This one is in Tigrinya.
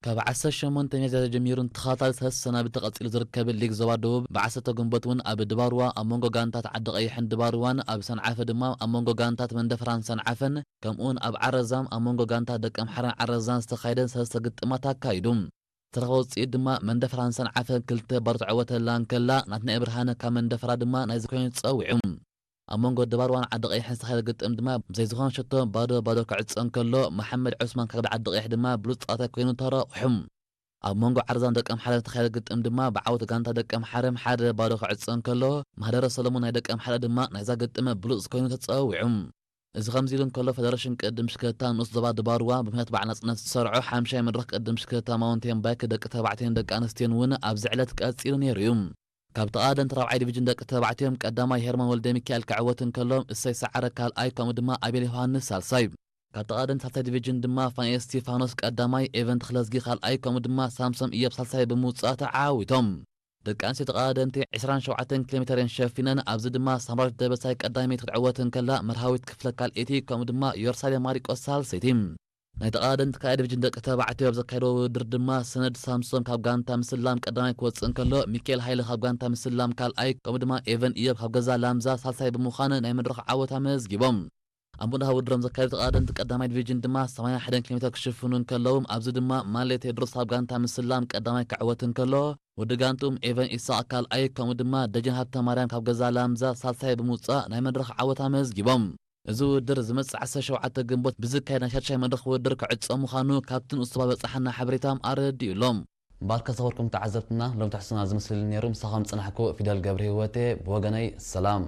ካብ ዓሰርተ ሸሞንተ ሚያዝያ ተጀሚሩ ንተኸታታሊ ሰለስተ ሰናብቲ ቀጺሉ ዝርከብ ሊግ ዞባ ደቡብ፣ ብ ዓሰርተ ግንቦት እውን ኣብ ድባርዋ ኣብ መንጎ ጋንታት ዓዲ ቀይሕን ድባርዋን፣ ኣብ ሰንዓፈ ድማ ኣብ መንጎ ጋንታት መንደፈራን ሰንዓፈን፣ ከምኡውን ኣብ ዓረዛም ኣብ መንጎ ጋንታት ደቀምሓረን ዓረዛን ዝተኻየደን ሰለስተ ግጥማት ኣካይዱ። ዝተረኸበ ውፅኢት ድማ መንደፈራን ሰንዓፈን ክልተ ባዶ ተዕወተላ እንከላ፣ ናትናኤል ብርሃነ ካብ መንደፈራ ድማ ናይዚ ኮይኑ ተፀዊዑ። ኣብ መንጎ ድባርዋን ዓዲ ቀይሕን ዝተኻየደ ግጥም ድማ ብዘይ ዝኾነ ሸቶ ባዶ ባዶ ክዕፀ እንከሎ፣ መሓመድ ዑስማን ካብ ዓዲ ቀይሕ ድማ ብሉፅ ተፃዋታይ ኮይኑ ተረቑሑ። ኣብ መንጎ ዓረዛን ደቀምሓረን ዝተኻየደ ግጥም ድማ ብዓወት ጋንታ ደቀምሓረም ሓደ ባዶ ክዕፀ እንከሎ፣ ማህደረ ሰሎሞን ናይ ደቀምሓረ ድማ ናይዛ ግጥም ብሉፅ ኮይኑ ተፀዊዑ። እዚ ከምዚ ኢሉ እንከሎ፣ ፈደረሽን ቅድም ሽክለታ ንኡስ ዞባ ድባርዋ ብምኽንያት በዓል ናጽነት ዝሰርዖ ሓምሻይ መድረኽ ቅድም ሽክለታ ማውንቴን ባይክ ደቂ ተባዕትዮን ደቂ ኣንስትዮን እውን ኣብዚ ዕለት ቀጺሉ ነይሩ እዩ። ካብ ተቓደምቲ ራብዓይ ዲቪዥን ደቂ ተባዕትዮም ቀዳማይ ሄርሞን ወልደ ሚካኤል ክዕወት እንከሎ፣ እሰይ ሰዓረ ካልኣይ፣ ከምኡ ድማ ኣቤል ዮሃንስ ሳልሳይ። ካብ ተቓደምቲ ሳልሳይ ዲቪዥን ድማ ፋንኤል ስቲፋኖስ ቀዳማይ፣ ኤቨን ተኽለዝጊ ካልኣይ፣ ከምኡ ድማ ሳምሶም እዮብ ሳልሳይ ብምውጻእ ተዓዊቶም። ደቂ ኣንስትዮ ተቓደምቲ ዕስራን ሸውዓተን ኪሎ ሜተር እየን ሸፊነን። ኣብዚ ድማ ሳምራዊት ደበሳይ ቀዳመይቲ ክትዕወት እንከላ፣ መርሃዊት ክፍለ ካልኣይቲ፣ ከምኡ ድማ ዮርሳሌም ማሪቆስ ሳልሰይቲ። ናይ ተቓደምቲ ካልኣይ ዲቪዥን ደቂ ተባዕትዮ ኣብ ዘካየድዎ ውድድር ድማ ሰነድ ሳምሶም ካብ ጋንታ ምስላም ቀዳማይ ክወፅእ እንከሎ፣ ሚካኤል ሃይለ ካብ ጋንታ ምስላም ካልኣይ፣ ከምኡ ድማ ኤቨን እዮብ ካብ ገዛ ላምዛ ሳልሳይ ብምዃን ናይ መድረኽ ዓወት ኣመዝጊቦም። ኣብ ምድሃ ውድድሮም ዘካየዱ ተቓደምቲ ቀዳማይ ዲቪዥን ድማ ሰማንያ ሓደ ኪሎ ሜተር ክሽፍኑ እንከለዉ፣ ኣብዚ ድማ ማሌ ቴድሮስ ካብ ጋንታ ምስላም ቀዳማይ ክዕወት እንከሎ፣ ወዲ ጋንትኦም ኤቨን ኢሳቕ ካልኣይ፣ ከምኡ ድማ ደጀን ሃብተ ማርያም ካብ ገዛ ላምዛ ሳልሳይ ብምውጻእ ናይ መድረኽ ዓወት ኣመዝጊቦም። እዚ ውድድር ዝመጽእ ዓሰርተ ሸውዓተ ግንቦት ብዝካየድ ናይ ሻድሻይ መድረኽ ውድድር ክዕጾ ምዃኑ ካብቲ ንኡስ ዞባ ዝበጻሓና ሓበሬታ ኣረዲኡ ኣሎ። እምበኣርከ ዝኸበርኩም ተዓዘብትና፣ ሎም ትሕዝቶና ዝመስል ነይሩ። ምሳኹም ዝጸናሕኩ ፊደል ገብረ ህይወቴ። ብወገነይ ሰላም።